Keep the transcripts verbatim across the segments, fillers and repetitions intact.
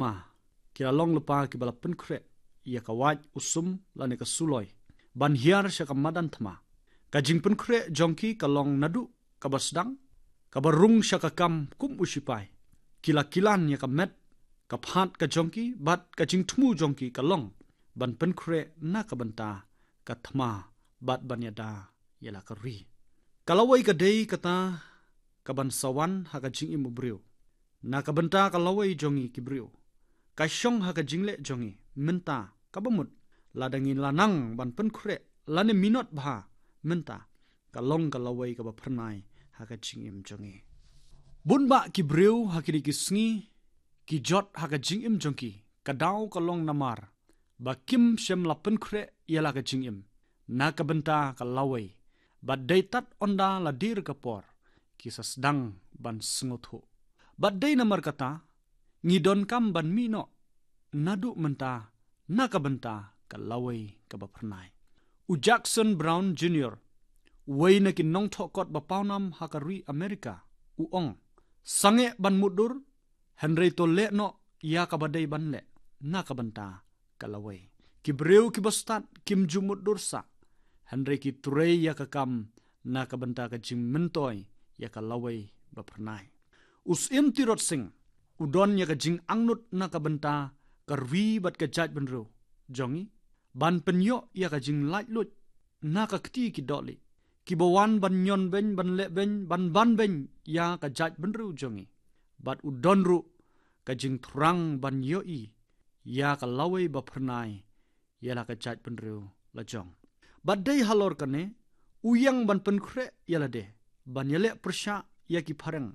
Ma, ki la long lypa kiba la pynkhreh ïa ka wait, u sum lane ka suloi ban hiar sha ka madan thma. Ka jingpynkhreh jong ki ka long naduh kaba sdang, kaba rung sha ka kam kum u sipai. Ki la kilan ïa ka met, ka phad ka jong ki bad ka jingthmu jong ki ka long ban pynkhreh na ka bynta ka thma bad ban ïada ïa la ka ri. Ka lawei ka dei kata kaban sa wan ha ka jingim u briew na ka bynta ka lawei jong ngi ki briew. Ka shong ha ka jingleh jong ngi mynta kaba mut, lada ngi la nang ban pynkhreh lane minot bha mynta, ka long ka lawei kaba phyrnai ha ka jingim jong ngi. Bun bah ki briew ha kine ki sngi ki jot ha ka jingim jong ki, ka daw ka long namar ba kim shym la pynkhreh ïa la ka jingim na ka bynta ka lawei, bad dei tad ynda la dier ka por ki sa sdang ban sngewthuh. Bad dei namar kata ngi donkam ban mih noh naduh mynta na ka bynta ka lawei kaba phyrnai. U Jackson Brown Junior, uwei na ki nongthoh kot ba pawnam ha ka ri Amerika, u ong, sangeh ban mutdur, hynrei to leh noh ïa kaba dei ban leh na ka bynta ka lawei. Ki briew kiba stad kim ju mutdur sah, hynrei ki trei ïa ka kam na ka bynta ka jingmyntoi ïa ka lawei ba phyrnai. U Syiem Tirot Sing u don ïa ka jingangnud na ka bynta ka ri bad ka jaitbynriew jong ngi ban pynïoh ïa ka jinglaitluid na ka kti ki dohlieh kiba wan ban ñion beiñ, ban leh beiñ, ban ban beiñ ïa ka jaitbynriew jong ngi. Bad u don ruh ka jingthrang ban ïohi ïa ka lawei ba phyrnai ïa la ka jaitbynriew la jong. Bad dei halor kane u ïeng ban pynkhreh ïa lade ban ïaleh pyrshah ïa ki phareng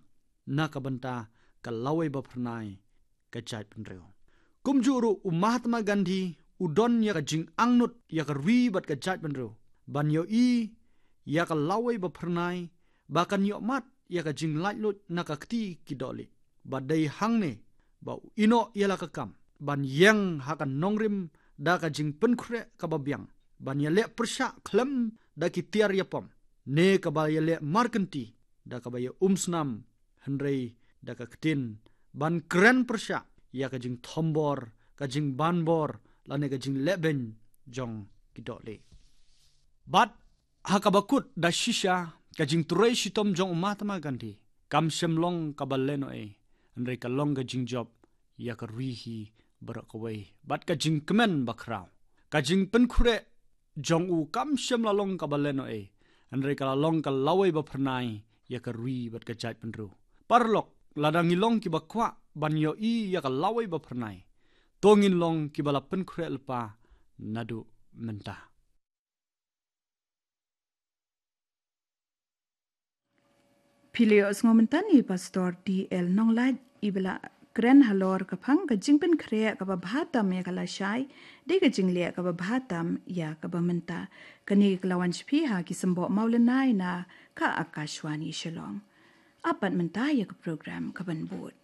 na ka bynta ka lawei ba phyrnai ka jaitbynriew. Kumjuh ruh u Mahatma Gandhi u don ïa ka jingangnud ïa ka ri bad ka jaitbynriew ban ïohi ïa ka lawei ba phyrnai ba kan ïohmad ïa ka jinglaitluid na ka kti ki dohlieh. Bad dei hangne ba u ïehnoh ïa la ka kam ban ïeng ha ka nongrim da ka jingpynkhreh kaba biang ban ïaleh pyrshah khlem da ki tiar ïapom ne kaba ïaleh markynti da kaba ïa umsnam, hynrei da ka ktien ban kren pyrshah ïa ka jingthombor, ka jingbanbor lane ka jingleh beiñ jong ki dohlieh. Bad ha kaba kut da shisha, ka jingtrei shitom jong u Mahatma Gandhi kam shym long kaba lehnohei, hynrei ka long ka jingjop ïa ka ri hi baroh kawei bad ka jingkmen bakhraw. Ka jingpynkhreh jong u kam shym la long kaba lehnohei, hynrei ka la long ka lawei ba phyrnai ïa ka ri bad ka jaitbynriew. Paralok, lada ngi long kiba kwah ban ïohi ïa ka lawei ba phyrnai, to ngin long kiba la pynkhreh lypa naduh mynta. Phi la ïohsngew mynta na i Pastor D L Nonglait, iba la kren halor ka phang ka jingpynkhreh kaba bha tam ïa ka lashai, dei ka jingleh kaba bha tam ïa kaba mynta. Kane ka la wan sha phi ha ki symboh mawlynnai na ka Akashvani Shillong. Ap pat mynta ïa ka program kaban bud.